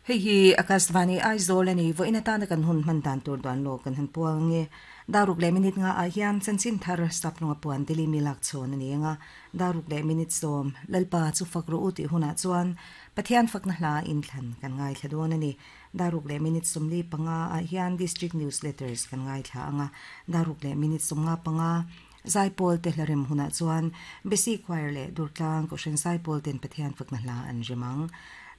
Hei hi Akashvani Aizawl a ni. Vawiin atana kan hun hman dan tur duan lawk kan han puang ang e. Daruk leh minute nga ah hian chanchin thar Saplunga puan Delhi mi lak chhawn a ni ang a. Daruk leh minute sawm Lalpa chu fak rawh u tih hunah chuan Pathian fakna hla inthlan kan ngaithla dawn a ni. Daruk leh minute 45 ah hian District Newsletters kan ngaithla ang a. Daruk leh minute 55 Zaipawl te hla rem hunah chuan Besi Choir leh Durtlang Kohhran Zaipawl ten Pathian fakna hla an rem ang.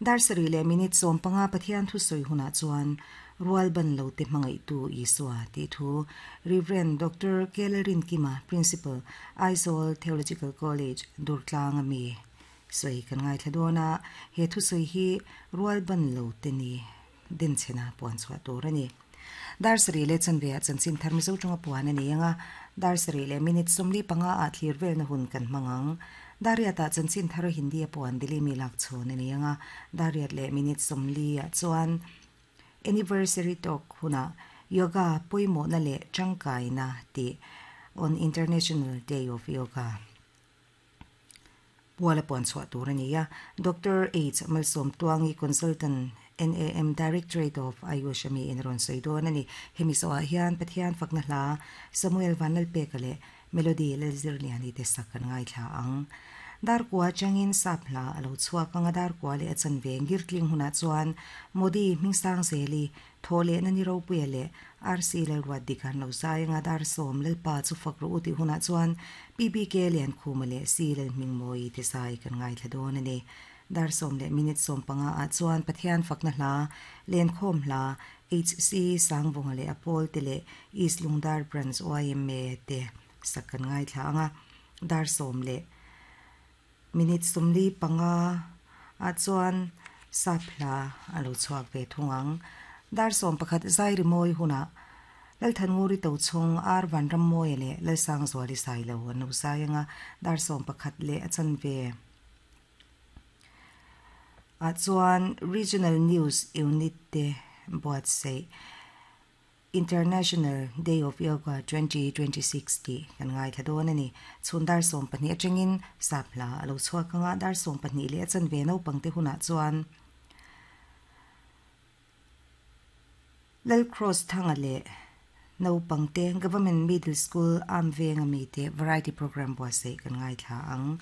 Dar sarih leh minute 15 Pathian thusawi hunah chuan Rual ban lo te hmangaihtu Isua tih thu Rev. Doctor Kelerinkima, Principal, Aizawl Theological College, Durtlang a mi sawi kan ngaithla dawn a, he thusawi hi rual ban lo te ni denchhena puan chhuah tur a ni. Dar sarih leh chanve ah chanchin thar Mizo tawnga puan a ni ang a, dar sarih leh minute 45 ah thlir velna hun kan hmang ang. Dar riat ah chanchin thar Hindi a puan Delhi mi lak chhawn a ni ang a, dar riat leh minute 40 ah chuan Anniversary talk hunah Yoga pawimawhna leh tangkaina tih on International Day of Yoga. Puala puan chhuah tur a ni a, Doctor H Malsawmtuangi Consultant NAM Directorate of Ayush a mi in a rawn sawi dawn a ni. Hemi zawhah hian Pathian fakna hla Samuel Vanlalpeka leh Melody Lalzirliani te sak kan ngaithla ang. Darkua atangin sap hla a lo chhuak ang a, Darkua leh a chanve ngirtling hunah chuan Modi Hmingsangzeli Thaw lehna ni ropuia leh RC Lalruat dik an lo zai anga dar sawm Lalpa chu fak rawh u tih hunah chuan PBK Liankhuma leh C Lalhmingmawii te zai kan ngaithla dawn a ni. Dar sawm leh minute 15 ah chuan Pathian fakna hla, Lenkhawm hla, HC Sangvunga leh a pawl te leh East Lungdar Branch yma te sak kan ngaithla anga dar sawm leh Minute 45 ah chuan sap hla a lo chhuak ve thung ang. Dar 11 zai rimawi hunah Lalthannguri Tochhawng, Ar Vanrammawia leh Lalsangzuali Sailo an lo zai ang a, dar 11 leh a chanve ah chuan Regional News Unit te buatsaih. International Day of Yoga 2026 tih kan ngaithla dawn a ni. Chhun dar 12 atangin sap hla a lo chhuak ang a, dar 12 leh a chanve naupangte hunah chuan Lal Cross Thanga leh naupangte Government Middle School Amvenga mite Variety Programme buatsaih kan ngaithla ang.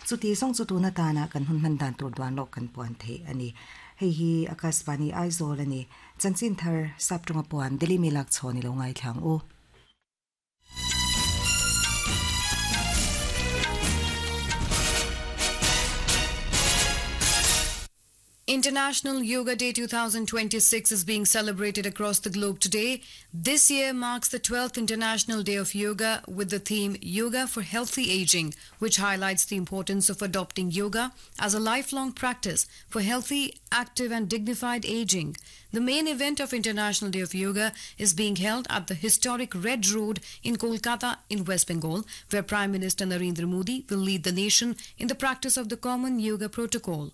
Chuti zawng chu tun atana kan hun hman dan tur duan lawk kan puan theih a ni. Hei hi Akashvani Aizawl a ni. Chanchin thar sap tawnga puan Delhi mi lak chhawn i lo ngaithla ang u. International Yoga Day 2026 is being celebrated across the globe today. This year marks the 12th International Day of Yoga with the theme Yoga for Healthy Aging, which highlights the importance of adopting yoga as a lifelong practice for healthy, active, and dignified aging. The main event of International Day of Yoga is being held at the historic Red Road in Kolkata in West Bengal, where Prime Minister Narendra Modi will lead the nation in the practice of the common yoga protocol.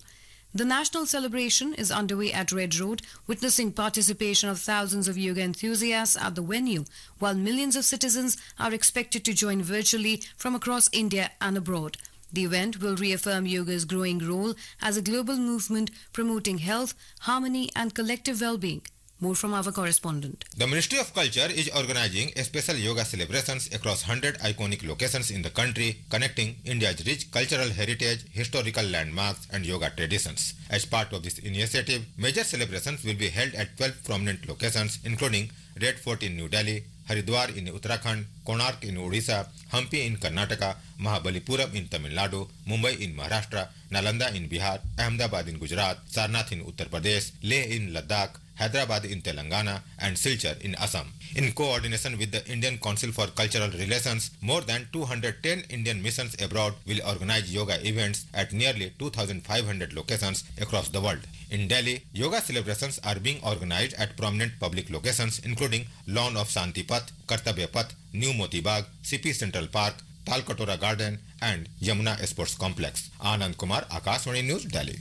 The national celebration is underway at Red Road, witnessing participation of thousands of yoga enthusiasts at the venue, while millions of citizens are expected to join virtually from across India and abroad. The event will reaffirm yoga's growing role as a global movement promoting health, harmony, and collective well being. More from our correspondent. The Ministry of Culture is organizing special yoga celebrations across 100 iconic locations in the country, connecting India's rich cultural heritage, historical landmarks, and yoga traditions. As part of this initiative, major celebrations will be held at 12 prominent locations, including Red Fort in New Delhi, Haridwar in Uttarakhand, Konark in Odisha, Hampi in Karnataka, Mahabalipuram in Tamil Nadu, Mumbai in Maharashtra, Nalanda in Bihar, Ahmedabad in Gujarat, Sarnath in Uttar Pradesh, Leh in Ladakh, Hyderabad in Telangana and Silchar in Assam. In coordination with the Indian Council for Cultural Relations, more than 210 Indian missions abroad will organize yoga events at nearly 2,500 locations across the world. In Delhi, yoga celebrations are being organized at prominent public locations including Lawn of Shanti Path, Kartavya Path, New Moti Bagh, CP Central Park, Talkatora Garden and Yamuna Sports Complex. Anand Kumar, Akashvani News, Delhi.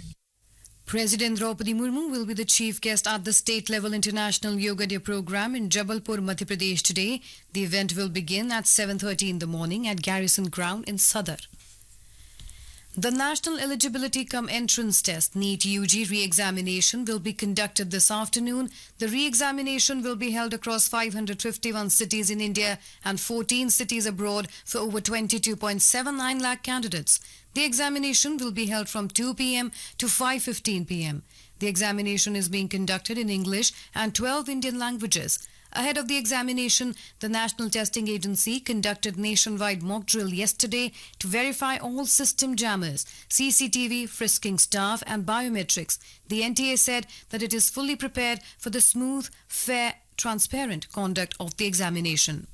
President Draupadi Murmu will be the chief guest at the state level International Yoga Day program in Jabalpur, Madhya Pradesh today. The event will begin at 7:30 in the morning at Garrison Ground in Sadar. The National Eligibility Cum Entrance Test NEET UG re-examination will be conducted this afternoon. The re-examination will be held across 551 cities in India and 14 cities abroad for over 22.79 lakh candidates. The examination will be held from 2 p.m. to 5:15 p.m. The examination is being conducted in English and 12 Indian languages. Ahead of the examination, the National Testing Agency conducted nationwide mock drill yesterday to verify all system jammers, CCTV, frisking staff, and biometrics. The NTA said that it is fully prepared for the smooth, fair, transparent conduct of the examination.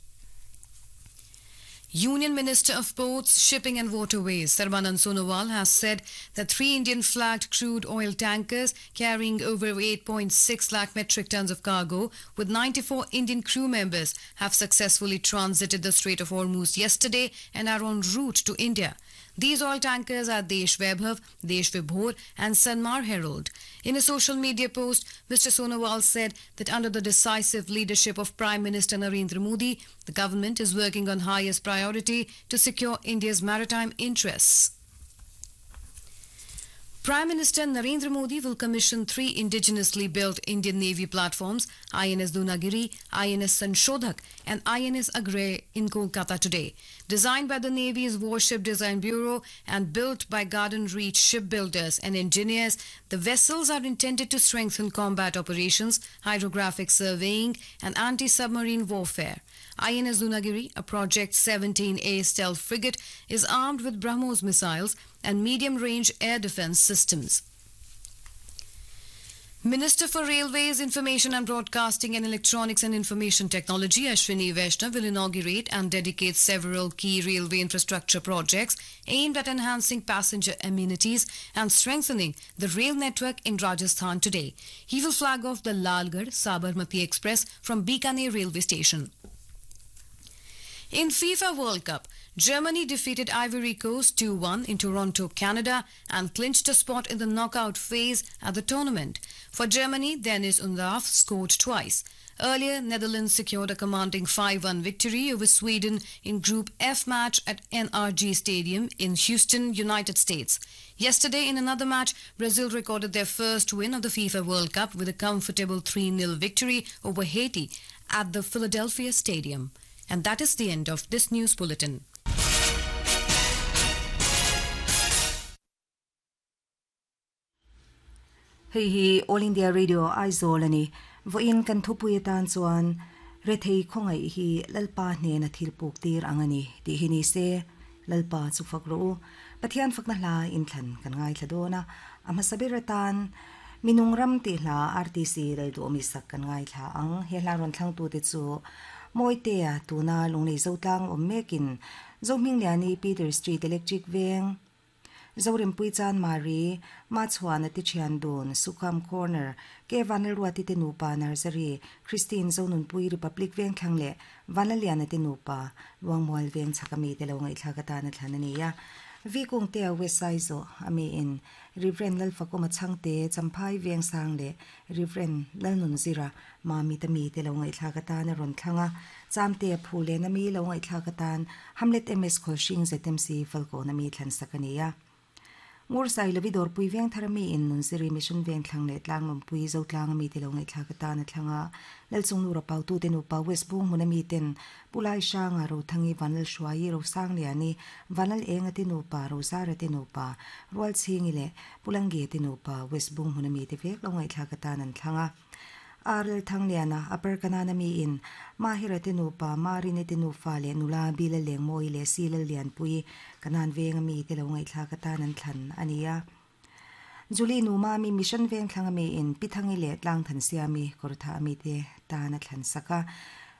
Union Minister of Ports, Shipping and Waterways Sarbanand Sonowal has said that three Indian-flagged crude oil tankers carrying over 8.6 lakh metric tons of cargo with 94 Indian crew members have successfully transited the Strait of Hormuz yesterday and are en route to India. These oil tankers are Desh Vaibhav, Desh Vibhor and Sanmar Herald. In a social media post, Mr. Sonowal said that under the decisive leadership of Prime Minister Narendra Modi, the government is working on highest priority to secure India's maritime interests. Prime Minister Narendra Modi will commission three indigenously built Indian Navy platforms INS Dunagiri, INS Sanshodhak, and INS Agray in Kolkata today. Designed by the Navy's Warship Design Bureau and built by Garden Reach shipbuilders and engineers, the vessels are intended to strengthen combat operations, hydrographic surveying, and anti submarine warfare. INS Dunagiri, a Project 17A stealth frigate, is armed with BrahMos missiles and medium range air defense systems. Minister for Railways, Information and Broadcasting and Electronics and Information Technology Ashwini Vaishnav will inaugurate and dedicate several key railway infrastructure projects aimed at enhancing passenger amenities and strengthening the rail network in Rajasthan today. He will flag off the Lalgarh Sabarmati Express from Bikaner railway station. In FIFA World Cup, Germany defeated Ivory Coast 2-1 in Toronto, Canada and clinched a spot in the knockout phase at the tournament. For Germany, Dennis Undav scored twice. Earlier, Netherlands secured a commanding 5-1 victory over Sweden in Group F match at NRG Stadium in Houston, United States. Yesterday, in another match, Brazil recorded their first win of the FIFA World Cup with a comfortable 3-0 victory over Haiti at the Philadelphia Stadium. And that is the end of this news bulletin. Hei hi All India Radio Aizawl a ni. Vawiin kan thupui atan chuan Rethei khawngaih hi Lalpa hnena thil puk tir ang a ni tih hi ni se, Lalpa chu fak rawh u. Pathian fakna hla inthlan kan ngaithla dawn a, a hmasa ber atan Minung ram tih hla RTC Lalduhawmi sak kan ngaithla ang. He hla rawn thlangtute chu Mawitea tuna Lunglei Zotlang awm mekin Zohmingliani Peter Street Electric Veng, Zorempui Chan Mari, Machhuana ti thian dun, Sukham Corner, Ke Vanlalruati te nupa Nursery, Christine Zonunpui Republic Vengthlang leh Vanlaliana te nupa Luangmual Veng chhak ami te lo ngaihthlak atan a thlan a ni a. Vi Kungtea West Saizawh ami in Rev. Lalfakawma Chhangte, Champhai Vengsang leh Rev. Lalnunzira Mamit ami te lo ngaihthlak atan a rawn thlang a. Chamte phu len ami lo ngaihthlak atan Hamlet MS Khawlhring ZMC Falkawn ami thlan sak a ni a. Ngur Sailovi Dawrpui Vengthar ami in Nunziri Mission Vengthlang leh Tlanglawmpui Zotlang ami te lo ngaihthlak atan a thlang a. Lalchungnura Pautute nupa West Bung hmun ami ten Pu Lai Hranga Rothangi Vanlalhruaii Rosangliani Vanlal Enga te nupa Rozara te nupa Rualchhingi leh Pu Langge te nupa West Bung hmun ami te vek lo ngaihthlak atan an thlang a. Arl Thangliana, Upper Kanaan ami in Mahira te nupa, Marini te nufa leh nula Bila Lengmawi leh Sila Lianpui Kanaan veng ami te lo ngaihthlak atan an thlan a ni a. Julie Numa ami Mission Vengthlang ami in Pi Thangi leh Tlangthan Siami Kawrthah ami te tan a thlan sak a.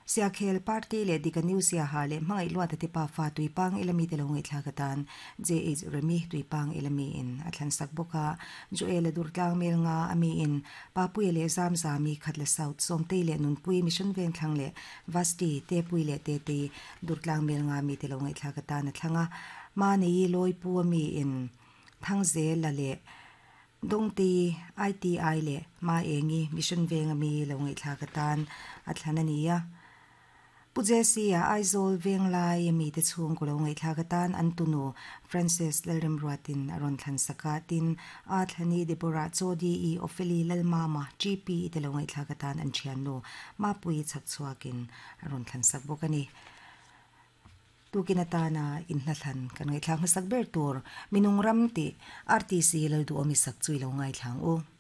Siakhel Party leh Dika New Siaha leh Hmangaih Luata te pafa Tuipang Elami te lo ngaihthlak atan JH Remi Tuipang Elami in a thlan sak bawk a. Joel-a Durtlang Mel nga ami in Papuia leh Zamzami Khatla South Sawmtei leh Nunpui Mission Vengthlang leh Vasti Tepui leh Tetei Durtlang Mel nga mi te lo ngaihthlak atan a thlang a. Mahni Lawipu ami in Thangzela leh Dawngtei ITI leh Maengi Mission Veng ami lo ngaihthlak atan a thlan a ni a. Pu Jesse-a Aizawl Venglai mite chhungkaw lo ngaihthlak atan an tunu Francis Lalremruatin a rawn thlan sak a, tin, A Thlani Deborah Chaw-D-E Opheli Lalmama GP te lo ngaihthlak atan an thiannu Mapuii chhakchhuakin a rawn thlan sak bawk a ni. Tukin atana inhnathlan kan ngaihthlak hmasak ber tur Minung Ram tih RTC Lalduhawmi sak chu i lo ngaithla ang u.